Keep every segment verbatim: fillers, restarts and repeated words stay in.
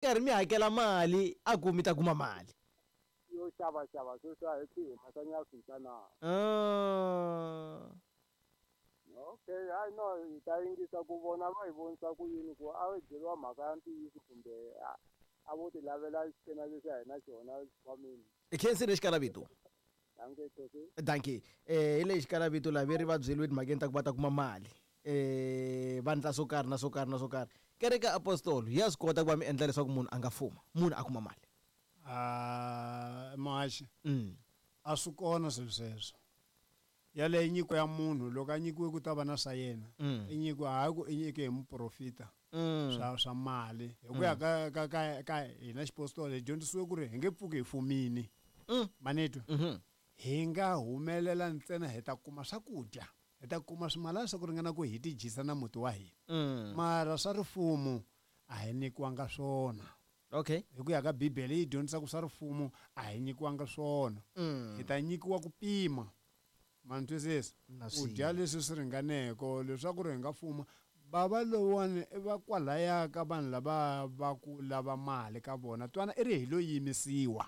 Karhi mi hakela mali a ku mi ta kuma mali. Yo xava xava sweswi a hi swi humesanyana swintsanana. Ah. Okay, hayi no hi ta yingisa ku vona va hi vonisa ku yini ku a yi byeriwa mhaka ya ntiyiso kumbe a a vo ti lavela xikena lexi a hi na xona exikhwameni. I khensile xikalavito. Dankie Tosi. Dankie. Eh hi lexi xikalavito laha ve ri va byeriwe timhakeni ta ku va ta kuma mali. Eh va ndla swo karhi na swo karhi na swo karhi. Kereke ya apostolo ya swi kota ku va mi endla leswaku munhu a nga fuma, munhu a kuma mali. Ah, muhaxi. Mm. A swi kona swilo sweswo. Yaleyo nyiko ya munhu loko a nyikiwe ku ta va na swa yena. Mm. I nyiko hayi ku i nyike hi muprofita. Mm. Swa swa mali. Hi ku ya ka ka ka ka hina xipostolo hi dyondzisiwe ku ri hi nge pfuki hi fumini. Mm. Manetwa. Mhm. Hi nga humelela ntsena hi ta kuma swakudya. Hi ta kuma swimalana swa ku ringana ku hi tidyisa na muti wa hina. Mm. Mara swa rifumo a hi nyikiwanga swona. Okay. Hi ku ya ka Bibele yi dyondzisa ku swa rifumo a hi nyikiwanga swona. Mm. Hi ta nyikiwa ku pima. Ma ni twisisa? Na Ku dya leswi swi ringaneke leswaku ri hi nga fuma. Bava lowuwani i va kwalaya ka vanhu lava va ku lava mali ka vona. Twana i ri hi lo yimisiwa.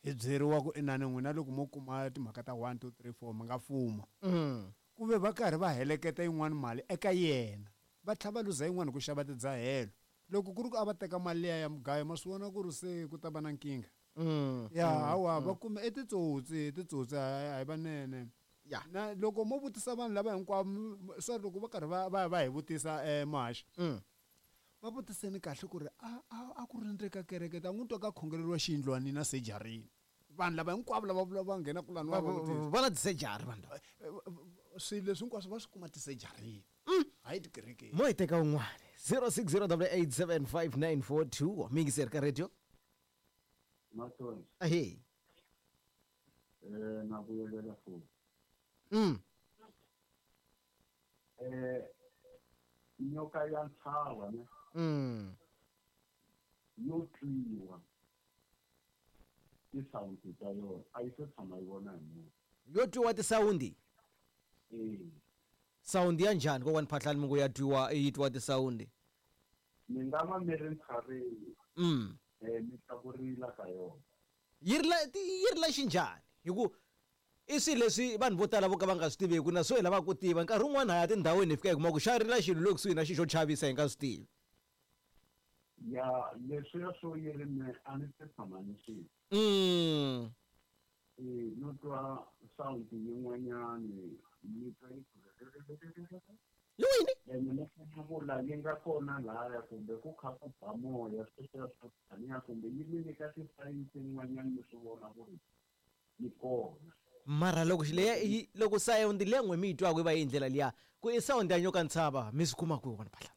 Hi byeriwa ku inani n'wina loko mo kuma timhaka ta one two three four mi nga fuma. Mm. Ku ve va karhi va heleketa yin'wani mali eka yena. Va tlhela va luza yin'wani hi ku xava tidzahelo. Loko ku ri ku a va teka mali liya ya mugayo ma swi vona ku ri se ku ta va na nkingha. Mm. Ya hawa va kume i titsotsi, titsotsi a hi vanene. Ya. Na loko mo vutisa vanhu lava hinkwavo sorry loko va karhi va va va hi vutisa eh muhaxi. Mm. Va vutiseni kahle ku ri a a a ku ri ndzeni ka kereke ta n'wi twa ka khongeleriwa xiyindlwanini na sejarini. Vanhu lava hinkwavo lava vula va nghena kulani va Va- va vutisa. va na tisejari vanhu lava. Swilo leswi hinkwaswo va swi kuma tisejarini. Hayi tikerekeni. Mo hi teka un'wana zero six zero double eight seven five nine four two miyingiseri ka radio. Mathonsi. Ahee. Eh na vuyelela futhi. Mm. Eh nyoka ya ntshava ne. Mm. Yo twiwa. Tisawundi ta yona a yi se tshama yi vona hi munhu. Yo twiwa tisawundi? Eh. Sound ya njhani kokwani Phahlani mi ngo ya twiwa yi twiwa tisawundi? Mi nga va mi ri ntshaveni. Mm. Eh mi twa ku rila ka yona. Yi rila yi rila xinjhani? Hi ku i swilo leswi vanhu vo tala vo ka va nga swi tiveki na swo hi lavaka ku tiva. Nkarhi wun'wani ha ya tindhawini hi fika hi kuma ku xa rila xilo le kusuhi na xilo xo chavisa hi nga swi tivi. Ya leswiya swo yi ri me a ni se tshama ni swi. Mm. Eh no twa sound yin'wanyani yi twa yi ku Yi wini? Ene ni funa ku la yi nga kona lahaya kumbe ku kha ku ba moya sweswiya swo taniya kumbe yi mi nyika ti-signs tin'wanyani mi swi vona ku ri yi kona. Mara loko leya yi loko sound leyi n'we mi yi twaka yi va yi ndlela liya ku i sound ya nyoka ntshava mi swi kuma kwihi wona Phahlani?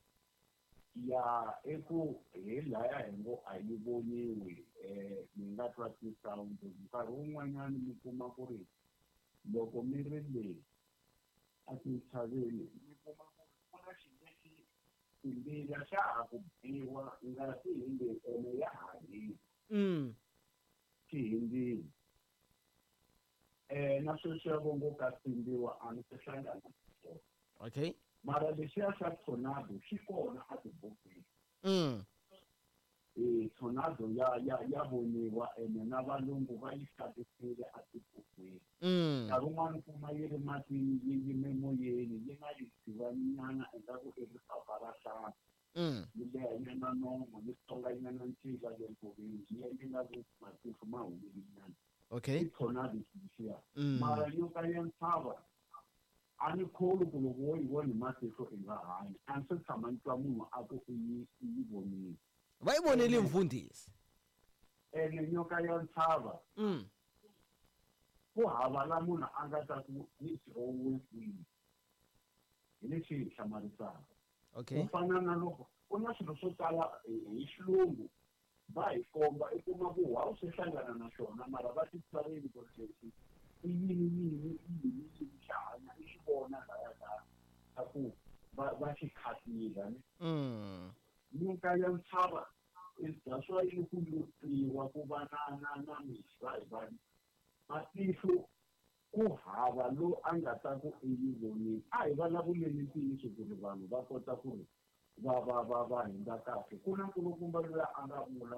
Ya i ku hi laya hi ngo a yi voniwi eh mi nga twa ti-sound nkarhi wun'wanyani mi kuma ku ri loko mi ri le a tintshaveni mi kuma ku ri ku na xilo lexi timbila xa ha ku biwa ngati hi le ene ya ha hisa. Mm. Xi hindzile. Eh na sweswiya vo ngo ka tsimbiwa a ni se hlangana na swona. Okay. Mara lexiya xa tornado xi kona a tibukwini. Mm. Eh tornado ya ya ya voniwa ene na valungu va yi xavisile a tibukwini. Mm. Nkarhi wun'wani kuma yi ri matini yi yime moyeni yi nga yi tivanyana ingaku i ripapa ra hlaya. Mm. Yi leha nyana nomo yi tsonga nyana ncila le nkoveni yi ya yi nga ku matihlo ma humile nyana. Okay. I tornado lexiya. Mm. Mara nyoka ya ntshava a ni kholwi ku loko wo yi vona hi matihlo i nga hanyi. A ni se tshama ni twa munhu a ku i yi i yi vonile. Va yi vonile mfundhisi. Ene nyoka ya ntshava. Mm. Ku hava la munhu a nga ta ku yi dirowe kwihi. Hi lexi hi hlamarisaka. Okay. Ku fana na loko ku na swilo swo tala hi xilungu va hi komba i kuma ku wa u swi hlangana na xona mara va ti tsarini ku ri lexi i yini yini i yini yini xa hanya i xi vona laya ka ka ku va va xi khatile ne. Mm. Nyoka ya ntshava is that's why yi ku lutiwa ku va na na na miswa hi vanhu. Matihlo ku hava lo a nga ta ku i yi vonile. A hi vulavuleni ntiyiso ku ri vanhu va kota ku ri Va va va va hindza kahle. Ku na nkulukumba luya a nga vula